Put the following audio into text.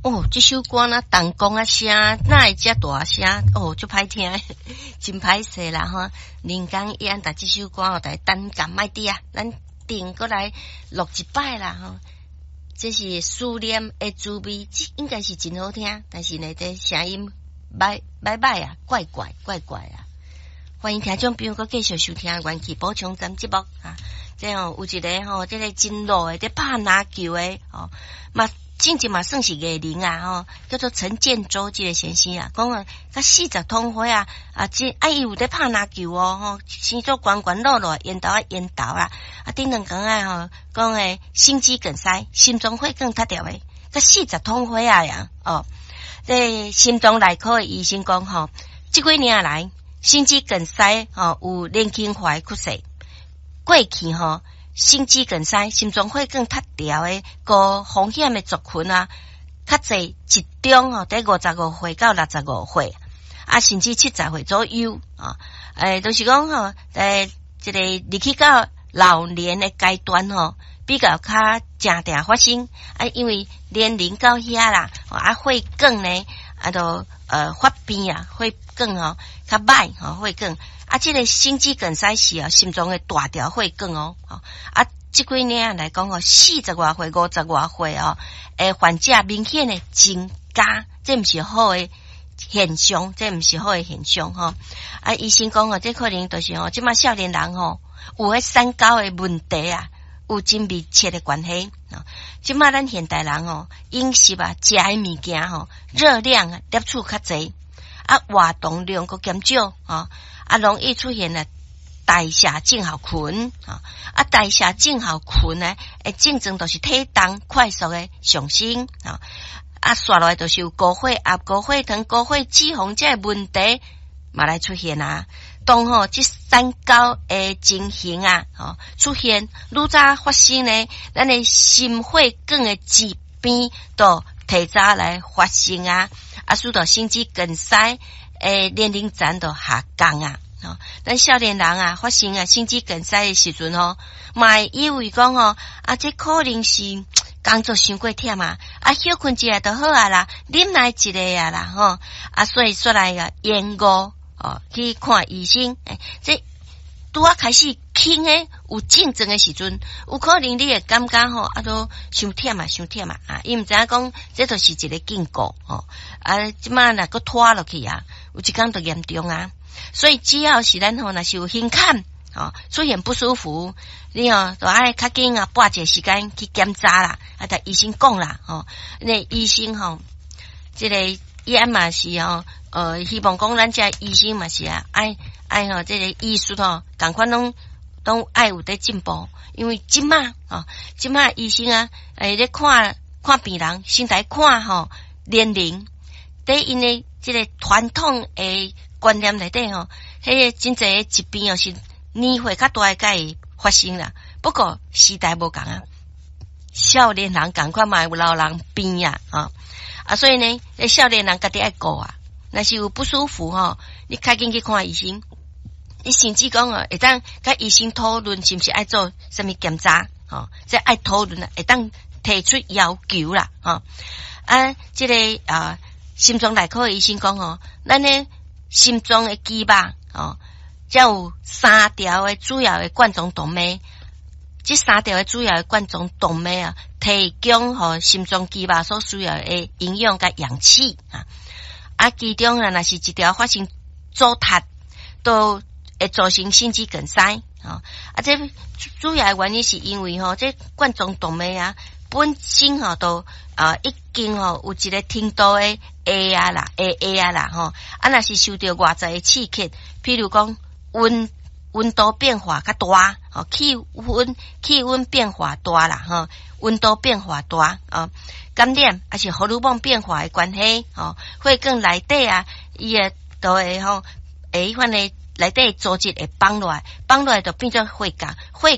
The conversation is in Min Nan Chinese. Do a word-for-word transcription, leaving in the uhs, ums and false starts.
哦，這首歌若銅管仔聲，哪會遮大聲？哦，足歹聽，真歹勢啦吼！林江伊按逐這首歌哦，來單撳莫滴啊，咱轉過來錄一擺啦吼。這是思念的滋味，這應該是真好聽，但是呢，這聲音歹歹歹啊，怪怪怪怪啊！歡迎聽眾朋友閣繼續收聽《元氣補充站》節目啊！這吼有一个吼，這个真老的，佇拍籃球的吼，嘛。進前嘛算是藝人啊，吼，叫做陳建州這个先生啊，講啊，佮四十通歲啊，啊，這啊伊有佇拍籃球哦，吼，生做懸懸落落，緣投啊緣投啊，啊，頂兩工仔吼，講的心肌梗塞，心臟血管塞著的，佮四十通歲啊呀，哦，這心臟內科的醫生講吼，這幾年來心肌梗塞吼有年輕化的趨勢，過去吼。心肌梗塞、心臟血管塞著的高風險的族群啊，較濟集中吼，佇五十五歲到六十五歲，啊，甚至七十歲左右啊。欸，就是講吼，欸，這个入去到老年的階段吼，比較較誠定發生啊，因為年齡到遐啦，啊，血管呢，啊，都呃發病啊，血管吼較歹吼，血管。啊，這个心肌梗塞是啊，心臟的大條血管哦，啊，這幾年來講哦，四十外歲、五十外歲哦，欸，患者明顯的增加，這毋是好的現象，這毋是好的現象吼。啊，醫生講哦，這可能就是吼，這馬少年人吼有彼三高的問題啊，有真密切的關係。這馬咱現代人吼，飲食啊，食的物件吼，熱量攝取較濟，啊，活動量閣減少，吼。啊，容易出現了代謝症候群，啊，代謝症候群呢，會症狀就是體重快速的上升，啊，啊，紲落來就是有高血壓、高血糖、高血脂肪這个問題嘛來出現啊。當吼這三高的情形啊，吼出現愈早發生呢，咱的心血管的疾病都提早來發生啊，啊，使到心肌梗塞的年齡層都下降啊。吼，咱少年人啊，發生啊心肌梗塞的時陣吼，嘛會以為講吼，啊，這可能是工作傷過忝啊，啊，歇睏一下就好啊啦，忍耐一下啊啦，吼，啊，所以煞來啊延誤哦去看醫生，欸，這拄仔開始輕的有症狀的時陣，有可能你會感覺吼，啊，都傷忝啊，傷忝啊，啊，伊毋知影講這就是一个警告吼，啊，這馬若閣拖落去啊，有一工就嚴重啊。所以只要是咱吼，若是有胸坎吼出現不舒服，你吼就愛較緊啊，撥一个時間去檢查啦，啊，共醫生講啦，吼，那醫生吼，這个伊按嘛是吼，呃，希望講咱這醫生嘛是啊，愛愛吼，這个醫術吼，仝款攏攏愛有佇進步，因為這馬吼，這馬醫生啊，欸，咧看看病人，先來看吼年齡，佇𪜶的這个傳統的觀念內底吼，彼个真濟的疾病哦，是年歲較大的才會發生啦。不過時代無仝啊，少年人仝款嘛有老人病啊，啊，啊，所以呢，少年人家己愛顧啊。若是有不舒服吼，你較緊去看醫生。你甚至講哦，會當佮醫生討論是毋是愛做啥物檢查，吼，這愛討論啊，會當提出要求啦，吼。啊，這个啊，心臟內科的醫生講吼，咱的心臟的肌肉吼，才有三條的主要的冠狀動脈，這三條的主要的冠狀動脈啊，提供予心臟肌肉所需要的營養佮氧氣啊。啊，其中啊，若是一條發生阻塞，都會造成心肌梗塞。啊，這主要的原因是因為吼，這冠狀動脈啊，本身吼都啊已經吼有一個程度的下壓啦，下壓啦吼。啊，若是受著外在的刺激，譬如講溫溫度變化較大，吼氣溫氣溫變化大啦，吼溫度變化大啊，感染抑是荷爾蒙變化的關係，吼血管內底啊，伊會都會吼會彼款的內底組織會綁落來，綁落來就變做血膠，血